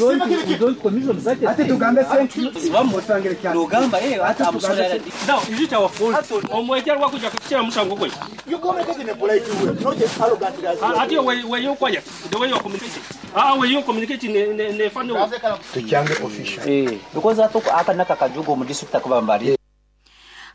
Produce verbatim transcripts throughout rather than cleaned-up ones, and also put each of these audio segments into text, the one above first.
don't, we don't commission such a Ate thing. Tugambe sente osangire. Nogamba eh ati amusole. Now, is it our fault? Omwejja lwakuja kukira musango gwe. You communicate in a polite way, not just arrogantly as you. Ate we we you quiet. The way you are communicating. Ah, way you communicating ne ne ne funny way. Tukyange official. Eh, because ato aka naka kajugo mu district akabambali.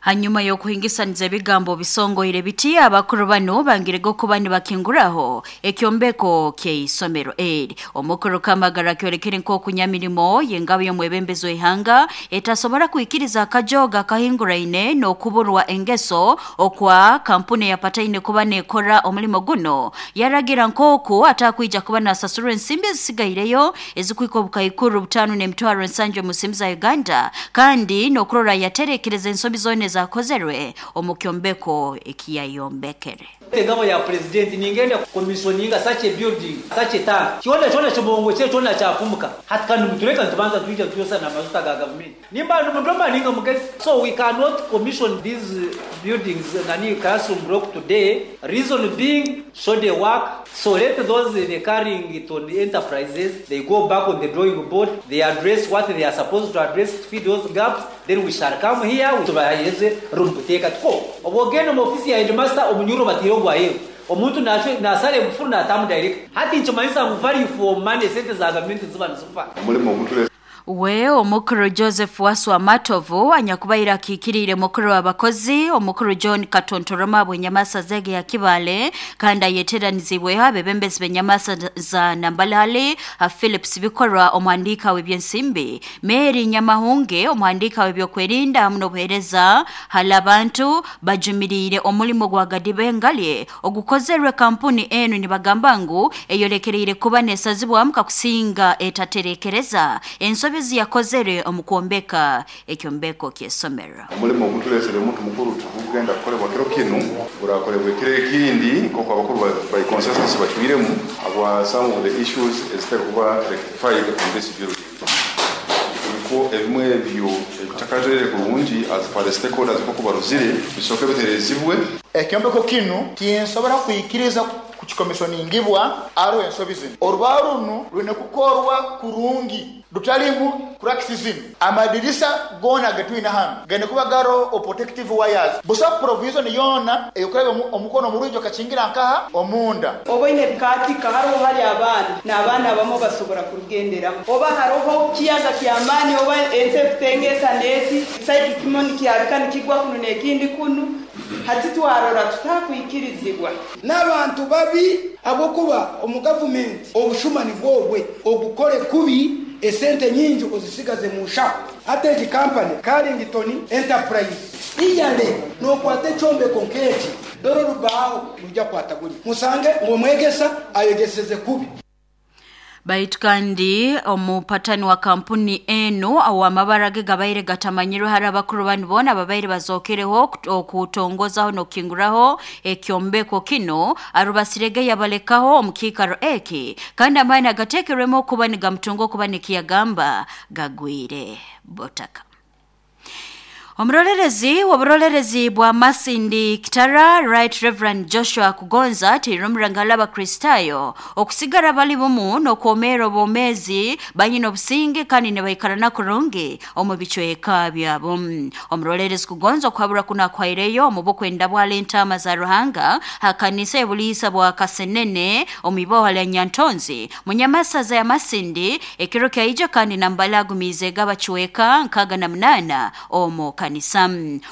Hanyuma y'okuhingisaniza ebigambo bisongoire biti, abakuru bano bangirego kuba nibakinguraho ekyombeko ky'eisomero eri. Omukuru Kamagara kyolekere nk'okunyamirimo y'engabo y'omwebembezi w'ihanga etasobora kwikiriza akajoga kahinguraine n'okuburwa engeso okwa kampuni yapataine kuba nekora omulimo guno. Yaragira nk'oku atakwija kuba nasasurwa ensimbi ezisigaireyo ezikwika obukaikuru butano n'emitwaro ensanju omu nsimbi za Uganda, kandi n'okurora yaterekereza ensobi zoona ezakozerwe omu kyombeko ekiyayombekere. Engabo ya president ningenda commissioninga such a building, such a tank, kyona kyona kibongo kye kyona kyafumuka. Hati kandi mutureka ntubanza tuija tuyosa na mazuta ga government nimba numuntu ninga mugezi. So we cannot commission these buildings, nani, classroom block today, reason being show the work. So let those they carrying it on the enterprises, they go back on the drawing board, they address what they are supposed to address, fill those gaps, then we shall come here tubaheze room kuteka tuko obogenda mu ofisi ya headmaster omunyuro batiro gwayeyo omuntu nasale mufuru natamu direct. Hati nchomanyisa ngu value for money, sente za government ziba nizifa. Omulimo ogutule. We omukuru Joseph Waswa Matovu anyakubaire akiikiriire mukuru w'abakozi omukuru John Katontoroma bwenyamasa zege ya Kibale, kandi ayeteranizibweho abebembezi b'enyamasa za Nambalale, Philips Bikorwa omwandika w'ebyensimbi, Mary Nyamahunge omwandika w'ebyokwerinda hamu n'obuheereza hali abantu, bajumiriire omulimo gwa Gadibengalye ogukozerwe kampuni enu, nibagamba ngu eyolekereire kuba nesazibwamu kakusinga etaterekereza ensobi yakozere omu kwombeka ekyombeko ky'essomero. Omulimo ogutulesere omuntu mukuru tukugenda kukolebwa kiro kinu, gurakolebwa ekiro ekindi nk'oku abakuru by consensus bacwiremu abwa some of the issues ezitari kuba rectified on this building, niko ebimwe ebyo ebitakajere kurungi as per the stakeholders nk'oku baruzire bisooke biterezibwe. Ekyombeko kinu tinsobora kwikiriza kukikomishoningibwa aro ensobi zino. Orubaho runo rwine kukorwa kurungi, rutalimu cracks zino. Amadirisa gona getwina hano gene kuba garo o protective wires, busa provision yona eyokureba omukono murujo kachingira nkaha omunda. Oba ine bikatika hariho hari abaana n'abaana bamo basobora kurugenderamu, oba hariho kiyaga kyamaani, oba ensi ekutengesa neti saidi kimwe nikyabika nikigwa kuno n'ekindi kunu. Hati twarora tutakwikirizibwa. N'abantu babi abokuba omu gavumenti obushumani bwobwe ogukore kubi, esente nyingi ozisigaze mu nshaho. Ate egi kampani Carrington Enterprise iyale nokwata ekyombeko nk'eki, dore orubaho rujya kwata guri musange ng'omwegesa ayegeseze kubi. Baitu kandi omupatani wa kampuni enu awamabara ge gabaire gatamanyirwe hari abakuru banu bona ababaire bazokereho okutongozaho n'okukinguraho ekyombeko kino, arubasirege yabalekaho omukiikaro eki, kandi amaani agateekerwemu okuba nigamutunga okuba nikiyagamba gagwire botaka. Omurorerezi w'oburolerezi bwa Masindi Kitara, Right Reverend Joshua Kugonza, tirumurangala abakristayo okusigara bali bumu n'okwomera obwomezi banyina obusinge kandi nibaikarana kurungi omu bicweka byabo. Omurolerezi Kugonza okuhabura kuno akwaireyo omu bukwenda bwala entaama za Ruhanga hakanisa ebuliisa bwa Kasenene omu iboha lya Nyantonzi munyamasaza ya Masindi ekiro kyaija, kandi nambala agumiize gabacweka nkaga na munana omu kanisa.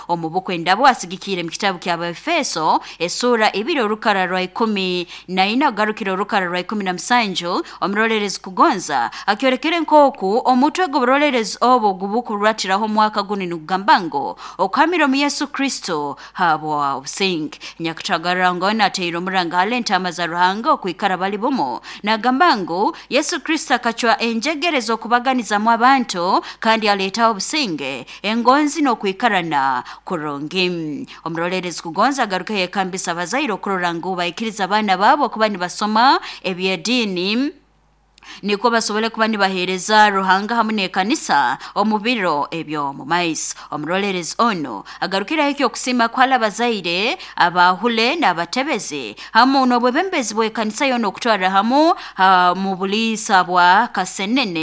Omu bukwenda bwasigikire mu kitabu kya Abaefeso esura ibiri orukara rwa ikumi na ina ogarukire orukara rwa ikumi na musanju, omurolerezi Kugonza akyorekere nk'oku omutwe gw'oburolerezi obwo gubukuratiraho omwaka guni nigugamba ngu okuhamira omu Yesu Kristo habwa obusinge. Nyakutagara ngona ateire omuranga hali entaama za Ruhanga okwikara bali bumu, nagamba ngu Yesu Kristo akacwa enjegere z'okubaganizamu abantu kandi aleetaho obusinge, engonzi n'okwikarana kurungi. Omurolerezi Kugonza agaruka yekambisa abazaire okurora ngu baikiriza abaana baabo kuba nibasoma eby'ediini niko basobole kuba nibaheereza Ruhanga hamu n'ekanisa omu biro ebyo mu maiso. Omurolerezi ono agarukiraho ekyokusiima kwala abazaire abahule n'abatebezi hamu n'obwebembezi bw'ekanisa yoona okutwarra hamu ha, mu buliisa bwa Kasenene.